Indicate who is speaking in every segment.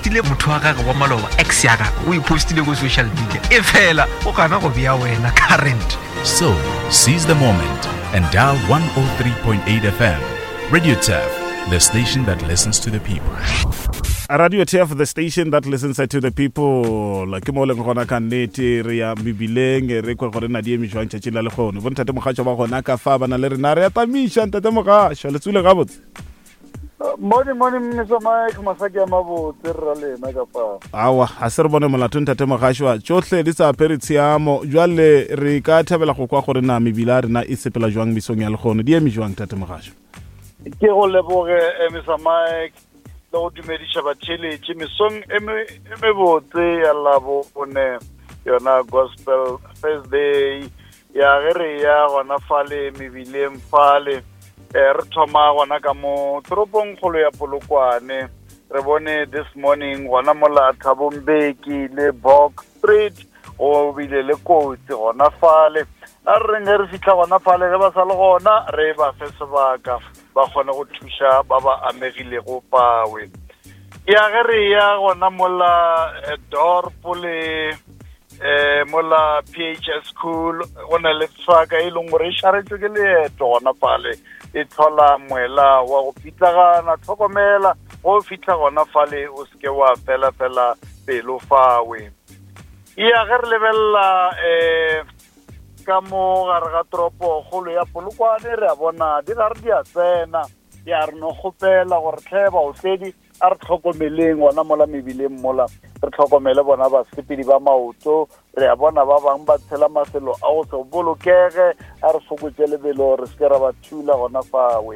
Speaker 1: postile motho wa gage wa maloba ex ya gagwe o e postile ko social media e fela o gana go bea wena current
Speaker 2: So, seize the moment and dial 103.8 FM. Radio TEF, the station that listens to the people.
Speaker 3: Radio TF, the station that listens to the people. Ke mo leng gona ka nnete re ya mebileng re kwe gore na di eme jwang tšatšing la lekgono. Bo ntate Mogatšo ba gona ka fa ba na le rena re ya tamiša ntate Mogatšo le tsule gabotse.
Speaker 4: Morning, morning, Mr. Mike, masaki a mabotse rra lena ka fa.
Speaker 3: Awa, ga se re bone molato ntate Mogatšo tšohle di sa apere tshiamo. Jwale re ka thabela go kwa gore na mebila ya rena e sepela jwang mesong ya lekgono. Di eme jwang ntate Mogatšo?
Speaker 4: Ke go leboge eh, Mr. Mike le go dumediša batheeletši mesong e e mebotse ya labone yona gospel thursday ya ge re ya gona fale mebileng fale eh, re thoma gona ka mo toropong kgolo ya polokwane re bone this morning gona mola thabombeki le bok street go bile le kotsi gona fale a re reng ge re fitlha gona fale ge ba sa le gona re ba fe sebaka ba kgone go thuša ba ba amegilego pawe ya ge re ya gona mola eh, dorp le eh mola PHS school go na le tswaka e leng gore e šaretswe ke leeto gona fale e tlhola moela wa go pitlagana tlhokomela go fitlha gona fale o seke wa fela fela pelo fawe ya ge re lebelela um ka mo gare ga toropo kgolo ya polokwane re a bona di gare di a tsena ya re no kgopela gore tlhe baotledi a re tlhokomeleng gona mola mebileng mola re tlhokomele bona basepedi ba maoto re a bona ba bangwe ba tshela mafelo a go se bolokege a re fokotse lebelo re seke ra ba thula gona fawe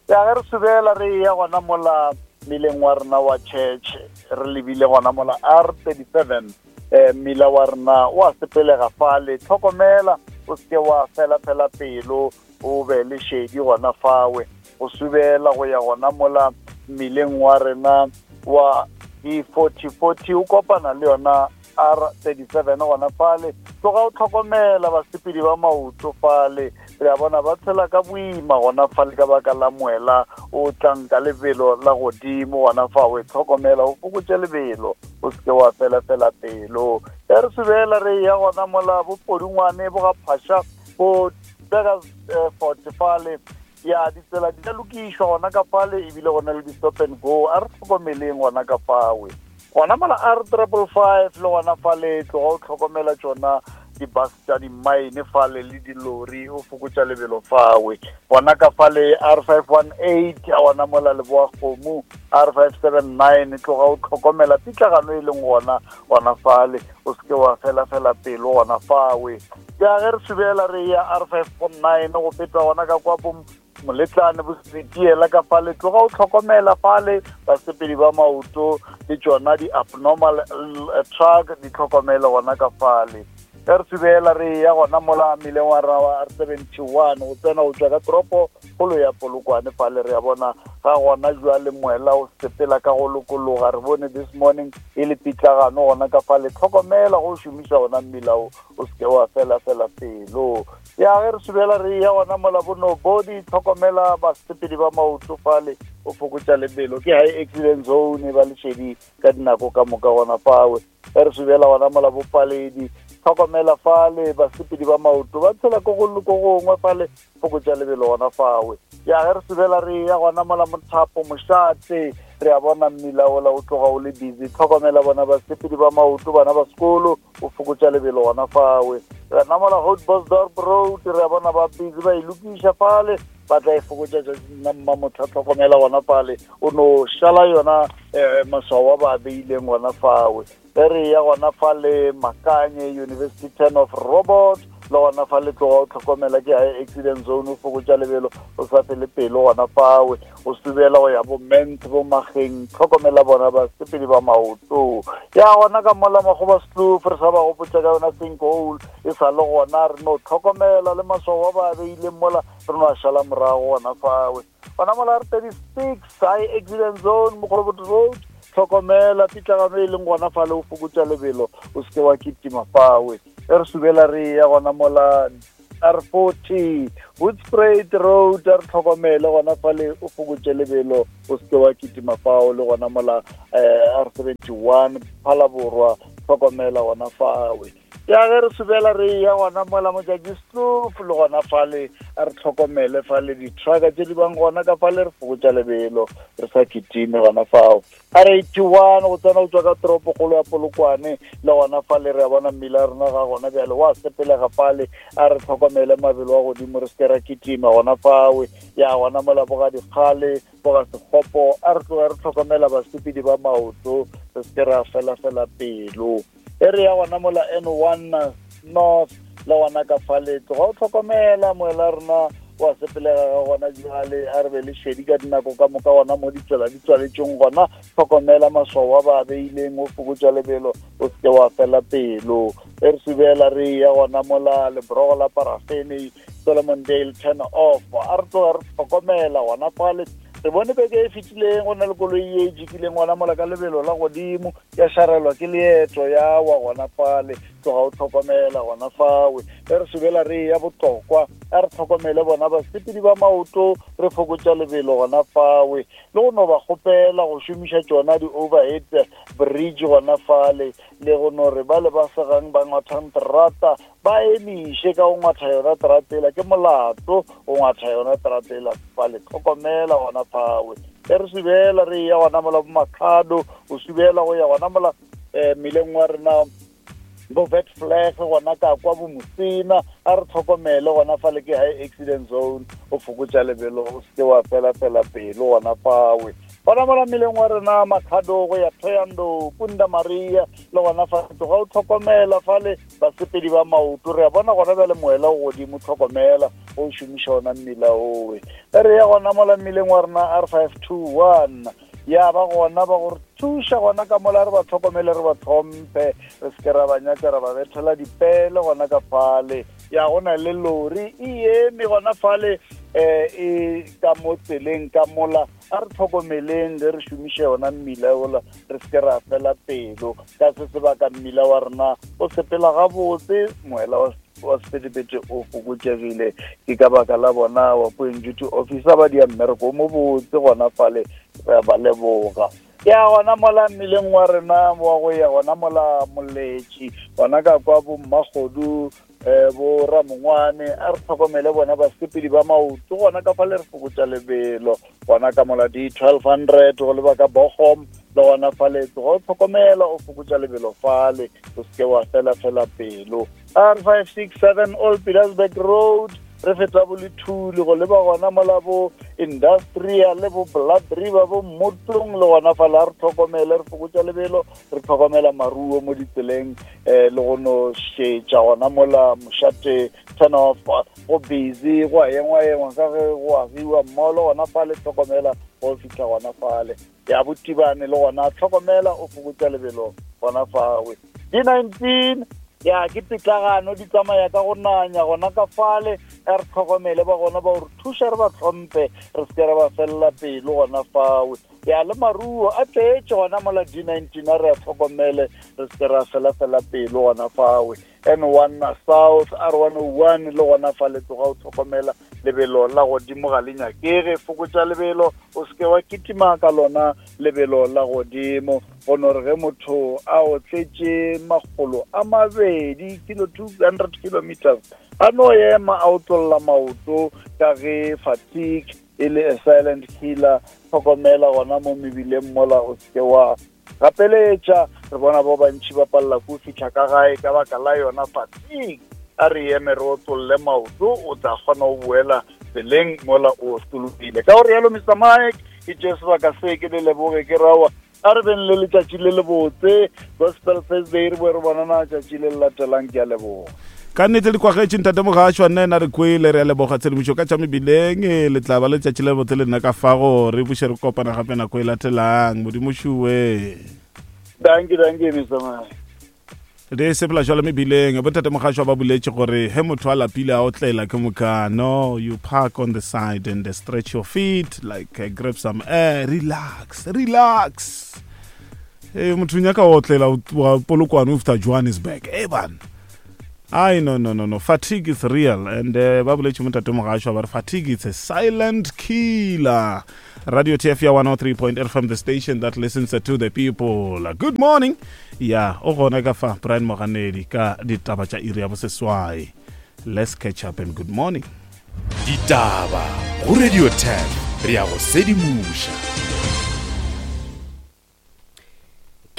Speaker 4: ya ge re subela re ya gona mola mmileng wa rena wa church re lebile gona mola r 37 eh mmila wa rena wa sepelega fale tlhokomela o seke wa fela fela pelo o be le šedi gona fawe go subela go ya gona mola mmileng wa rena wa E4040 o kopana le yona R37 gona fale tloga o tlhokomela basepedi ba maoto fale re a bona ba tshela ka boima gona fale ka baka la moela o tlang ka lebelo la godimo gona fa o e tlhokomela o fokotše lebelo o seke wa fela fela pelo ya re subela re ya gona mola bopodungwane bo ga phasha bo beka eh, forte fale ya ditsela di a lokišwa gona ka fale ebile gona le di-stop and go a re tlhokomeleng gona ka fawe gona mola r triple five le gona fale tloga o tlhokomela tšona di-bus tša di-mine fale le dilori o fokotša lebelo fawe gona ka fale r 518 a gona mola leboa kgomo r 579 tloga o tlhokomela pitlagano e leng gona gona fale o seke wa fela fela pelo gona fawe ya ge re subela re ya r 549 go feta gona ka kwa bo moletlane bo setiela ka fale tloga o tlhokomela fale basepedi ba maoto le tšona di-abnormal eh, truck di tlhokomele gona ka fale ge re subela re ya gona mola mmileng wa rena wa r 71 go tsena go tswa ka toropo kgolo ya polokwane fale re ya bona ga gona jwale moela o sepela ka go lokologa re bone this morning e le pitlagano gona ka fale tlhokomela go šomiša gona mmila o o seke wa fela fela pelo ya ge re subela re ya gona mola bo nobody tlhokomela basepedi ba maoto fale o fokotša lebelo ke high accident zone ba lešedi ka dinako ka moka gona fawe ge re subela gona mola bopaledi tlhokomela fale basepedi ba maoto ba tshela ko gongwe fale fokotša lebelo gona fawe ya ge re sebela re ya gona mola mothapo mošate re a bona mmila ola o tloga o le busy tlhokomela bona basepedi ba maoto bana ba sekolo o fokotša lebelo gona fawe re namola hot bosdorp road re a bona ba busy ba e lokiša fale ba tla e fokotša tšatšing la mmamotlha tlhokomela gona fale o no šala yona um maswao a ba beileng gona fawe ge re ya gona fa le makanye university ten of robot le gona fa le tloga o tlhokomela ke high accident zone o fokotša lebelo o sa fele pelo gona fawe o subela go ya bo ment bo mageng tlhokomela bona basepedi ba maoto ya gona ka mola magoba sloof re sa ba gopotša ka yona sinkhole e sa le gona re no tlhokomela le maswao a ba beileng mola re no a šala morago gona fawe gona mola r 36 high accident zone mogolobot road tlhokomela pitlagano e leng gona fale o fokotša lebelo o seke wa kitima fawe e re subela re ya gona mola R40 Hoedspruit Road a re tlhokomele gona fale o fokotše lebelo o seke wa kitima fao le gona mola eh, R71 Phalaborwa tlhokomela gona fawe ya ge re subela re ya gona mola motšatši stlof le gona fale a re tlhokomele fale di-trucka tše di bang gona ka fale re fokotša lebelo re sa kitime gona fao R81 go tsena go tswa ka toropokgolo ya Polokwane le gona fale re a bona mmila rena ga gona bjale wa sepelega fale a re tlhokomele mabelo a godimo re seke ra kitima gona fawe ya gona mola boga dikgale boga sekgopo a re tloga re tlhokomela basepedi ba maoto re seke ra felafela pelo e re ya gona mola N1 North le gona ka fale tloga o tlhokomela moela rena wa sepelega ga gona jale a re be le šedi ka dinako ka moka gona mo ditsela di tswaletšeng gona tlhokomela maswao a ba beileng o fokotša lebelo o seke wa fela pelo e re subela re ya gona mola lebrogo la parafene Solomon Dale turn off a re tloga re tlhokomela gona fale re bone beke e fetileng go na le koloi ye e jikileng gona mola ka lebelo la godimo ya šarelwa ke leeto ya wa gona fale tloga o tlhokomela gona fawe e re sobela re ya botlokwa a re tlhokomele bona basepedi ba maoto re fokotša lebelo gona fawe le go no ba kgopela go šomiša tšona di-overhead bridge gona fale le go no re ba le ba segang ba ngwathang terata ba emiše ka go ngwatha yona teratela ke molato go ngwatha yona teratela fale tlhokomela gona fawe e re subela re ya gona mola bomakhado o subela go ya gona mola um mmileng wa rena bo vet flag gona ka kwa bo mosina a re tlhokomele gona fale ke high accident zone o fokotša lebelo o seke wa fela fela pelo gona fawe gona mola mmeleng wa rena makhado go ya thoyando punda maria le gona fa tloga o tlhokomela fale basepedi ba maoto re a bona gona bjale moela o godimo tlhokomela o šomiša ona mmila owe ge re ya gona mola mmileng wa rena r 521 ya ba gona ba gore thuša gona ka mola re ba tlhokomele re ba tlhomphe re seke ra ba nyaka ra ba bethela dipele gona ka fale ya go na le lori e eme gona fale um e ka mo tseleng ka mola a re tlhokomeleng ge re šomiše yona mmila ola re seke ra fela pelo ka se sebaka mmila wa rena o sepela gabotse moela wa sephethephethe o fokotšegile ke ka baka la bona wa point duty officer ba dia mmereko o mobotse gona fale re ba leboga ya gona mola mmileng wa rena wa go ya gona mola moletši gona ka kwa bommakgodu um bo ramongwane a re tlhokomele bona basepedi ba maoto gona ka fa le re fokotša lebelo gona ka mola di 1200 go leba ka bogom le gona fale tloga o tlhokomela o fokotša lebelo fale o seke wa fela fela pelo r 567 old petersburg road re feta bo lethuli go leba gona mola bo industrial le bo blood river bo mmotlong le gona fale a re tlhokomele re fokotša lebelo re tlhokomela maruo mo ditseleng um le go no šetša gona mola mošate turn off go busy go a engwa engwa ka ge go agiwa mmolo gona fale tlhokomela go fitlha gona fale ya botibane le gona tlhokomela o fokotsa lebelo gona fawe d19 ya ke pitlagano di tsamaya ka go nanya gona ka fale a re tlhokomele ba gona ba gore thuša re ba tlhomphe re seke ra ba felela pelo gona fawe ya le maruo a tletše gona mola d19 a re a tlhokomele re seke ra felafela pelo gona fawe n1 south r101 le gona fa le tloga o tlhokomela lebelo la godimo ga le nyakege fokotša lebelo o seke wa kitima ka lona lebelo la godimo go no re ge motho a otletše makgolo a mabedi kilo 200 kilometers a no ema a otlolla maoto ka ge fatigue e le a silent killer tlhokomela gona mo mebileng mola o seke wa gapeletša re bona ba bantši ba palela ko fitlha ka gae ka baka la yona fatigue a re eme re otlolle maoto o tla kgona go boela tseleng mola o otologile ka gore yalo mr mike ke tše sebaka se ke le leboge ke rawa a re beng le letšatši le lebotse gospel thursday re boe re bonana tšatši le le latelang ke a leboga
Speaker 3: ka nnete le kwagetše ntate mogašwa nna ena re kwele re a leboga tshedimošo ka tša mebileng e, le tla ba letšatši le botse le nna ka fago re buše re kopana gape nako e latelang modimo šuwe
Speaker 4: danke danke mr mike
Speaker 3: re sepela jalo mebileng botate mogašwa ba boletše gore he motho a lapile a otlela ke moka no you park on the side and stretch your feet like uh, grab some air relax relax e motho nyaka o otlela wa polokwane o fita johannesburg e bana. Ai no no no no fatigue is real and uh, ba boletše mo tate mogašwa ba re fatigue it's a silent killer. Radio TF ya 103.8 from the station that listens to the people. Good morning. Ya, o gona ka fa Brian Moganedi ka ditaba tša iri ya boseswai. Let's catch up and good morning.
Speaker 2: Ditaba go Radio 10 re ya go sedimoša.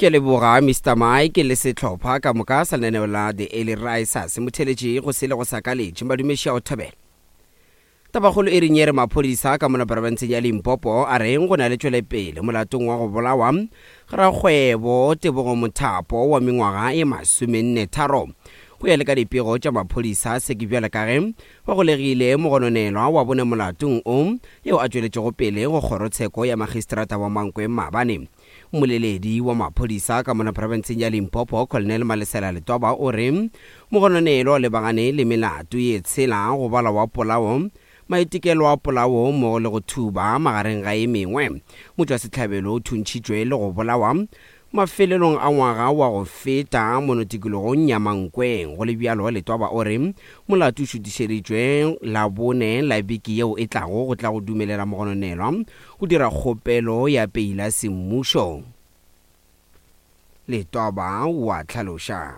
Speaker 5: Ke leboga Mister Mike le sehlopha ka moka sa lenaneo la The Early Risers. Motheletši go sele go sa kaletše madumeši a go thabela. Tabakgolo e reng e re maphodisa ka mona profenseng ya Limpopo a reng go na le tšwelepele molatong wa go bolawa ga rakgwebo Tebogo Mothapo wa mengwaga e 44. Go ya le ka dipego tša maphodisa se ke bjale ka ge ba golegile mogononelwa wa bone molatong o yeo a tšweletšego pele go kgorotsheko ya magistrata wa Mankweng maabane. Mmoleledi wa maphodisa ka mona profenseng ya Limpopo, Colonel Malesela Letwaba o re mogononelwa o lebagane le melato ye tshela go bala wa polao, maitekelo a polao mmogo le go thuba magareng ga e mengwe. Motšwasehlabelo o thuntšhitšwe le go bolawa mafelelong a ngwaga wa go feta mono tikologong ya Mankweng. Go le bjalo, Letwaba o re molato o šutišeditšwe Labone la beke yeo e tlago go tla go dumelela mogononelwa go dira kgopelo ya peila semmušo. Letwaba o a hlaloša.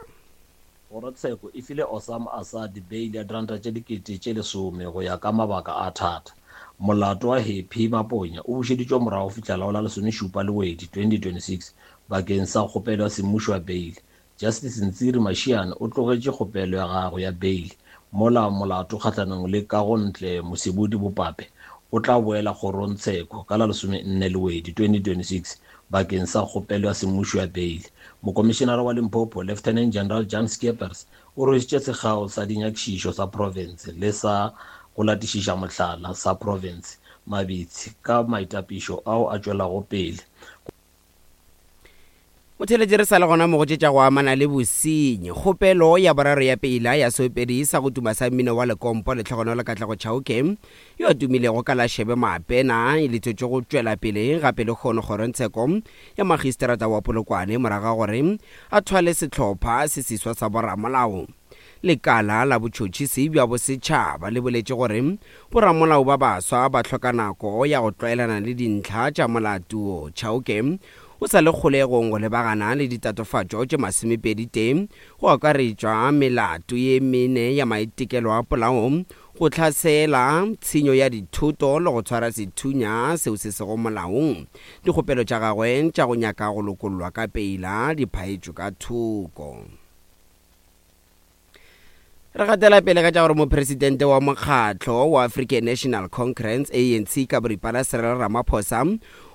Speaker 6: Kgorotsheko e file Osama Assad beili ya diranta tše 10,000 go ya ka mabaka a thata. Molato wa Happy Maponya o bušeditšwe morago go fihla la go la lesomešupa Lewedi 2026 bakeng sa kgopelo ya semmušo ya beili. Justice Ntsiri Mashiane o tlogetše kgopelo ya gagwe ya beili mola molato kgahlanong le Kagontle Mosebudi Bopape o tla boela kgorongtsheko ka la lesomenne Lewedi 2026 bakeng sa kgopelo ya semmušo ya beili. Mokomišenara wa Limpopo, Lieutenant General Jan Scheepers, o rwešitše sekgao sa dinyakišišo sa profense le sa go latišiša mohlala sa profense Mabitsi ka maitapišo ao a tšwelago pele
Speaker 5: Motheeletši re sa le gona mo go tše tša go amana le bosenyi. Kgopelo ya boraro ya peila ya seopedi sa go tuma sa mmino wa lekompo Lehlogonolo Katlego Chauke yo a tumilego ka la Shebe Maapena e letšetšwe go tšwela pele gape lehono kgorongtsheko ya magistrata wa Polokwane morago ga gore a thwale sehlopha se seswa sa boramolao. Lekala la botšhotšhisi bja bosetšhaba le boletše gore boramolao ba baswa ba hloka nako ya go tlwaelana le dintlha tša molato wo. Chauke o sa le kgolegong go lebagana le ditatofatšo tše masomepedi-tee, go akaretšwa melato ye mene ya maitekelo a polao, go hlasela, tshenyo ya dithoto le go tshwara sethunya seo se sego molaong. Dikgopelo tša gagwe tša go nyaka go lokollwa ka peila di phaetšwe ka thoko. Re gatela pele ka tša gore mopresidente wa mokgatlo wa African National Congress, ANC, ka boripana Cyril Ramaphosa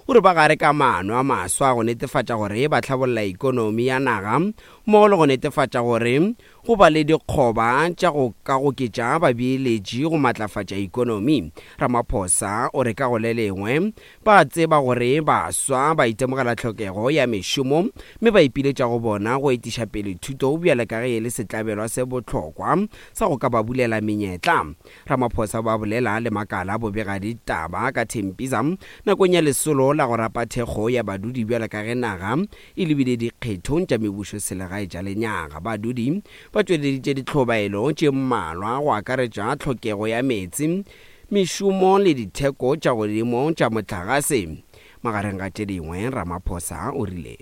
Speaker 5: o re ba gare ka maano a maswa go netefatša gore ba hlabolla ikonomi ya naga mmogo le go netefatša gore go ba le dikgoba tša go ka goketša babeeletši go matlafatša ikonomi. Ramaphosa o re ka go le lengwe Ba a tseba gore baswa ba itemogela tlhokego ya mešomo mme ba ipiletša go bona go etiša pele thuto bjale ka ge e le setlabelwa se bohlokwa sa go ka ba bulela menyetla. Ramaphosa o ba bolela le makala a bobegaditaba ka Tembisa nakong ya lesolo la go rapa thekgo ya badudi bjale ka ge naga e lebile dikgethong tša mebušoselegae tša lenyaga. Badudi ba tšweleditše dihlobaelo tše mmalwa go akaretša tlhokego ya meetse, mešomo le ditheko tša godimo tša mohlagase, magareng ga tše dingwe, Ramaphosa o rile.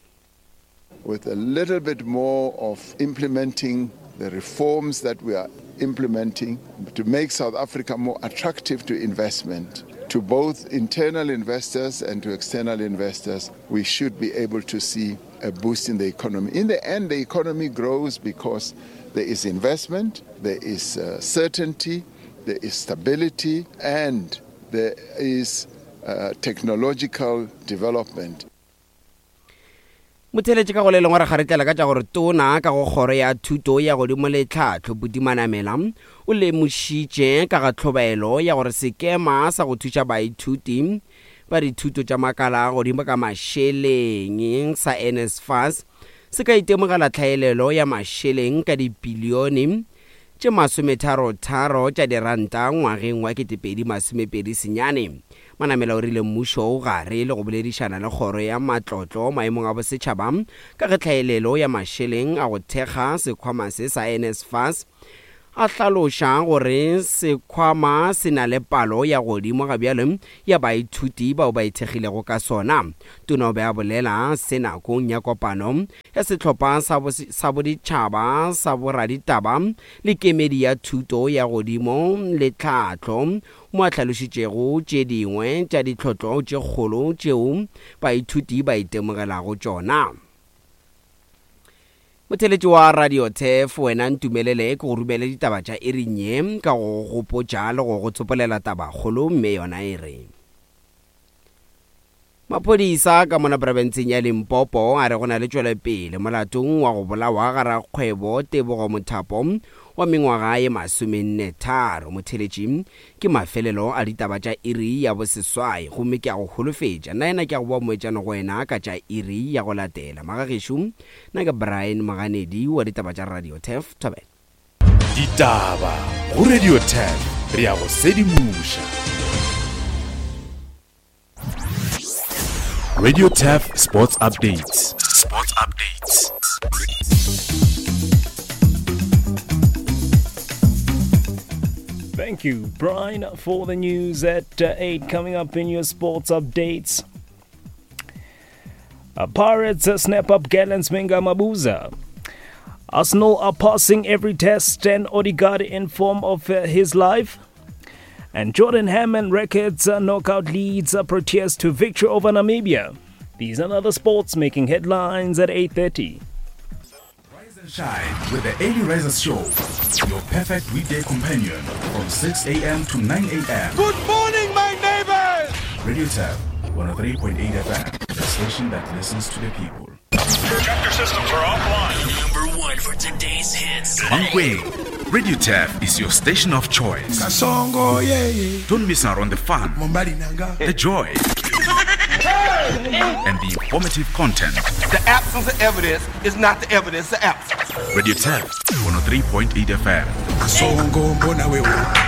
Speaker 7: With a little bit more of implementing the reforms that we are implementing to make South Africa more attractive to investment, to both internal investors and to external investors, we should be able to see a boost in the economy. In the end, the economy grows because there is investment, there is uh, certainty, there is stability, and there is uh, technological development.
Speaker 5: Motheeletši ka go le lengwe re kgaretlela ka tša gore tona ka go kgoro ya thuto ya godimo le tlhahlo Buti Manamela o lemošitše ka ga tlhobaelo ya gore sekema sa go thuša baithuti ba dithuto tša makala a godimo ka mašeleng sa NSFAS se ka itemogela tlhaelelo ya mašeleng ka dipilione tše masometharotharo tša diranta ngwageng wa 2029. Manamela o rile mmušo o gare le go boledišana le kgoro ya matlotlo maemong a bosetšhaba ka ge tlhaelelo ya mašeleng a go thekga sekhwama se sa NSFAS a hlaloša gore sekhwama se na le palo ya godimo ga bjale ya baithuti bao ba ithekgilego ka sona. Tona o be a bolela se nakong ya kopano ya sehlopha sa boditšhaba sa boraditaba le kemedi ya thuto ya godimo le tlhahlo mo a hlalošitšego tše dingwe tša ditlhotlo tše kgolo tšeo baithuti ba itemogelago tšona. Motheeletši wa Radio Turf, wena ntumelele ke go romele ditaba tša iring ye ka go go gopotša le go go tsopolela tabakgolo mme yona e re. Maphodisa ka mona profenseng ya Limpopo a re go na le tšwelopele molatong wa go bolawa ga rakgwebo Tebogo Mothapo wa mengwaga ye masomennetharo. Motheeletši, Ke mafelelo a ditaba tša iri ya boseswai, gomme ke a go holofetša, nnaena ke a go boa moetšano go wena ka tša iri ya go latela. Magagešo, nna ke Brian Moganedi wa ditaba tša Radio Turf. Thobela.
Speaker 2: Ditaba go Radio Turf, re a go sedimoša. Radio Turf Sports Updates. Sports Updates.
Speaker 8: Thank you, Brian, for the news at uh, 8. Coming up in your sports updates. Uh, Pirates uh, snap up Gallants Menga Mabuza. Arsenal are passing every test and Odegaard in form of uh, his life. And Jordan Hammond records a knockout leads a Proteas to victory over Namibia. These and other sports making headlines at 8.30.
Speaker 2: Rise and shine with the Early Risers Show, your perfect weekday companion from 6 a.m. to 9 a.m.
Speaker 9: Good morning, my neighbors!
Speaker 2: Radio Tab, 103.8 FM, the station that listens to the people.
Speaker 10: Chapter systems are offline. Number one for today's hits.
Speaker 2: Mankweng, Radio Tap is your station of choice.
Speaker 9: Kasongo, yeah, yeah.
Speaker 2: Don't miss out on the fun, the joy, and the informative content.
Speaker 9: The absence of evidence is not the evidence of absence.
Speaker 2: Radio Tap, 103.8 FM.
Speaker 9: Kasongo, mbona wewe.